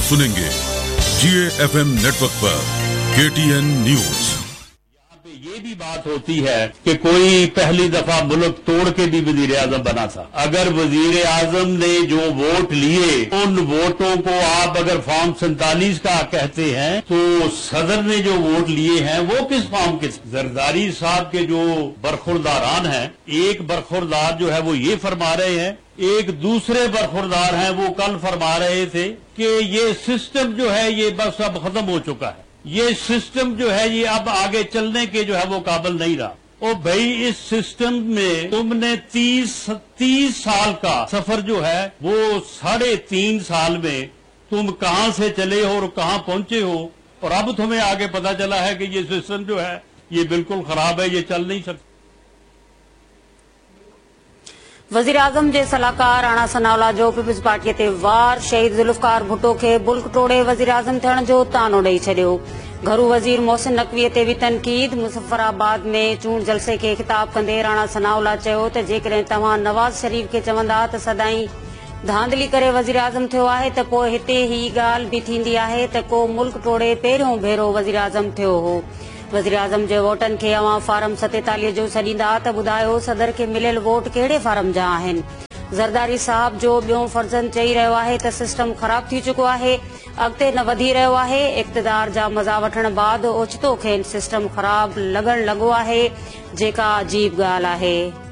सुनेंगे जिए FM network पर केटीएन न्यूज। यहाँ पे ये भी बात होती है कि कोई पहली दफा मुल्क तोड़ के भी वजीर आजम बना था। अगर वजीर आजम ने जो वोट लिए, उन वोटों को आप अगर फॉर्म 47 का कहते हैं, तो सदर ने जो वोट लिए हैं वो किस फॉर्म के? जरदारी साहब के जो बरखुरदारान हैं, एक बरखुरदार जो है वो ये फरमा रहे हैं, एक दूसरे बरखुरदार हैं वो कल फरमा रहे थे कि ये सिस्टम जो है ये बस अब खत्म हो चुका है, ये सिस्टम जो है ये अब आगे चलने के जो है वो काबिल नहीं रहा। ओ भाई, इस सिस्टम में तुमने 30 साल का सफर जो है वो 3.5 साल में तुम कहां से चले हो और कहां पहुंचे हो, और अब तुम्हें आगे पता चला है कि ये सिस्टम जो है ये बिल्कुल खराब है, ये चल नहीं सकता। वज़ीर आज़म जे सलाहकार राणा सनाउल्ला जो पीपल्स पार्टीअ ते वार, शहीद ज़ुल्फ़कार भुट्टो खे मुल्क टोड़े वज़ीर आज़म थियण जो तानो ॾेई छॾियो। घरू वज़ीर मोहसिन नकवीअ ते बि तनक़ीद। मुज़फ़्फ़राबाद में चूंड जलसे खे ख़िताब कंदे राणा सनाउल्ला चयो त जेकॾहिं तव्हां नवाज़ शरीफ़ खे चवंदा त सदाईं धांधली करे वज़ीर आज़म थियो आहे त पोइ हिते ही ॻाल्हि बि थींदी आहे त को मुल्क टोड़े पहिरियों भेरो वज़ीर आज़म थियो हो। वज़ीर आज़म जे वोटनि खे अव्हां फार्म 47 जो सॾींदा त ॿुधायो सदर खे मिलियल वोट कहिड़े फार्म जा आहिनि। ज़रदारी साहब जो ॿियो फर्ज़ंद चई रहियो आहे त सिस्टम ख़राब थी चुको आहे, अॻिते न वधी रहियो आहे। इक़्तिदार जा मज़ा वठण बाद ओचितो खेनि सिस्टम ख़राब लॻण लॻो आहे, जेका अजीब ॻाल्हि आहे।